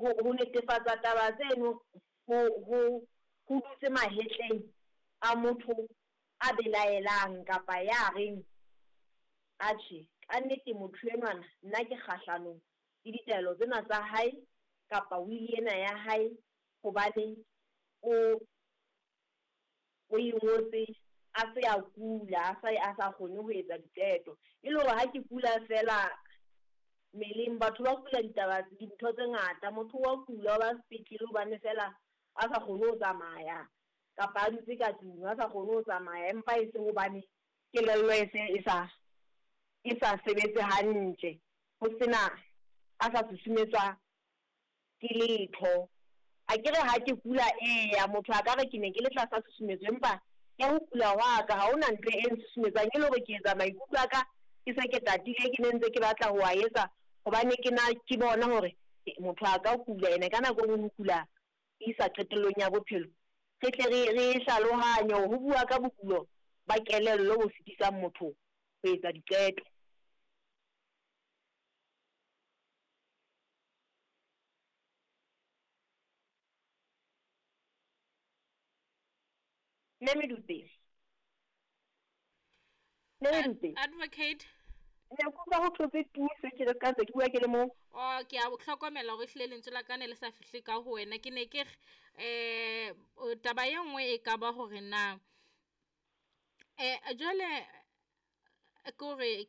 Ho netefatsa taba tseno ho dutse mahetleng a motho a belaelang kapa ya reng, atjhe, ka nnete motho enwana nna ke kgahlanong le ditaelo tsena tsa hae kapa will ena ya hae hobane o e ngotse a se a kula, a sa kgone ho etsa diqeto. E le hore ha ke kula fela mmeleng, batho ba kula ditaba dintho tse ngata, motho wa kula o ba sepetlele hobane fela a sa kgone ho tsamaya kapa a dutse ka tlung a sa kgone ho tsamaya, empa e se hobane kelello e se e sa sebetse hantle, ho sena a sa susumetswa ke letho. Akere ha ke kula, eya motho a ka re ke ne ke le tlasa tshusumetso, empa ya ho kula hwa ka ha hona ntho e nsusumetsang, e le hore ke etsa maikutlo a ka ke se ke tatile, ke ne ntse ke batla ho a etsa hobane ke na ke bona hore motho a ka kula ene ka nako e nngwe ho kula isa qetellong ya bophelo. Re tle re hlalohanye hore ho bua ka bokulo ba kelello bo sitisang motho ho etsa diqeto. Mme Medupe. Mme Medupe. Advocate. Ne ke utlwa ho thotse tu se ke ka ntse ke bua ke le mong. Oh, ke a hlokomela hore ehlile lentswe la ka ne le sa fihle ka ho wena. Ke ne ke re taba e nngwe e ka ba hore na jwale ke hore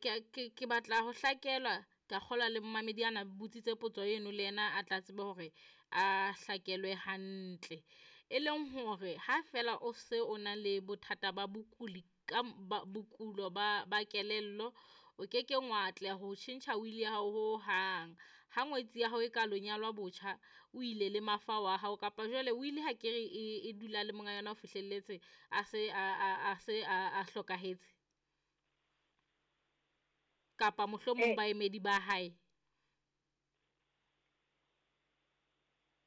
ke batla ho hlakelwa, ka kgolwa le momamedi ana botsitse potso eno le yena a tla tsebe hore a hlakelwe hantle. E leng hore ha fela o se o na le bothata ba bokuli ka bokulo ba kelello, o ke keng wa atleha ho tjhentjha will ya hao ho hang. Ha ngwetsi ya hao e ka lo nyalwa botjha, o ile le mafa wa hao, kapa jwale will ha ke re e dula le monga yona ho fihlelletse a se a hlokahetse, kapa mohlomong baemedi ba hae.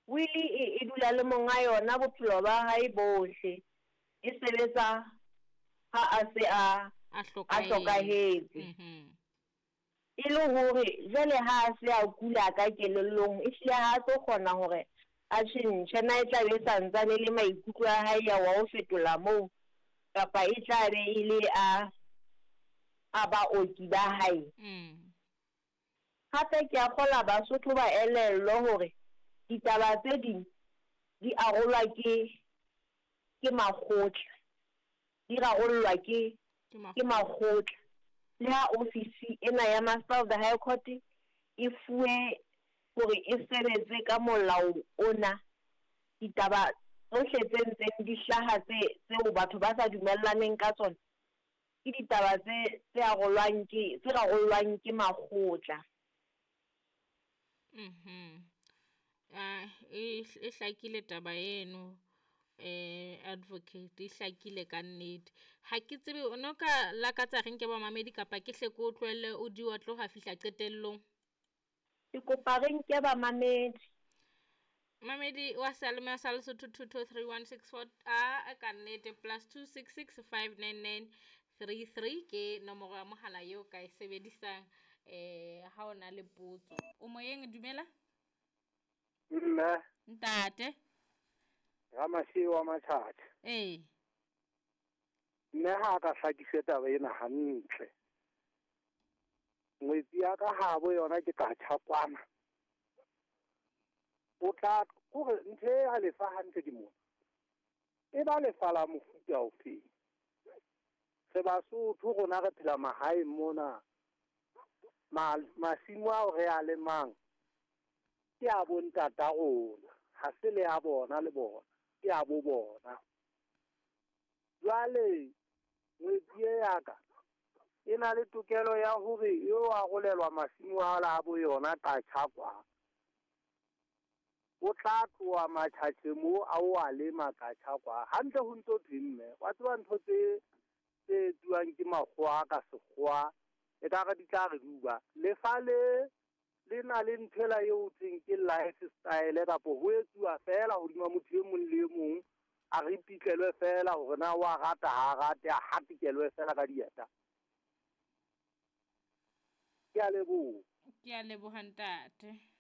Will e dula le monga yona bophelo ba hae bohle, e sebetsa ha a se a hlokahetse. E le hore jwale ha a se a kula ka kelellong, ehlile ha a tlo kgona hore a tjhentjhe, na e tla be santsane le maikutlo a hae ya wa ho fetola moo, kapa e tla be e le a baoki ba hae. Hape ke a kgola Basotho ba elellwe hore ditaba tse ding di arolwa ke makgotla, di rarollwa ke makgotla. Le ha ofisi ena ya Master of the High Court e fuwe hore e sebetse ka molao ona, ditaba tsohle tse ntseng di hlaha tseo batho ba sa dumellaneng ka tsona ke ditaba tse rarollwang ke makgotla. E hlakile taba eno, advocate, e hlakile ka nnete. Ha ke tsebe o no ka lakatsa re nke bamamedi kapa ke hle ke o tlohelle o di wa tloha fihla qetellong. Ke kopa re nke bamamedi. Mamedi wa seyalemoya sa Lesotho 223164 a ka nnete +266 599 33 ke nomoro ya mohala eo ka e sebedisang ha o na le potso. O moyeng, dumela. Mme. Ntate. Ramasiu wa Matjhatjha. Ee. Mme ha ka hlakise taba ena hantle. Ngwetsi ya ka habo yona ke ka tjha kwana. O tla hore ntho e ya lefa hantle ke mona. E ba lefa la mofuta ofe? Re Basotho rona re phela mahaeng mona. Masimo ao re a lemang ke a bo ntata rona, ha se le a bona le bona, ke a bo bona. Jwale ngwetsi e ya ka e na le tokelo ya hore e o arolelwa masimo a la bo yona ka tjha kwa. O tla tloha Matjhatjhe moo a o a lema ka tjha kwa. Hantle ho ntso thwe mme, wa tseba ntho tse etsuwang ke makgowa ka sekgowa, e ka re di tla re duba. Lefa le na le nthwela eo thweng ke lifestyle, kapa ho etsuwa fela hodima motho e mong le e mong, a re pitlelwe fela hore na wa rata ha rate, a hatikelwe fela ka dieta. Ke a leboha. Ke a leboha ntate.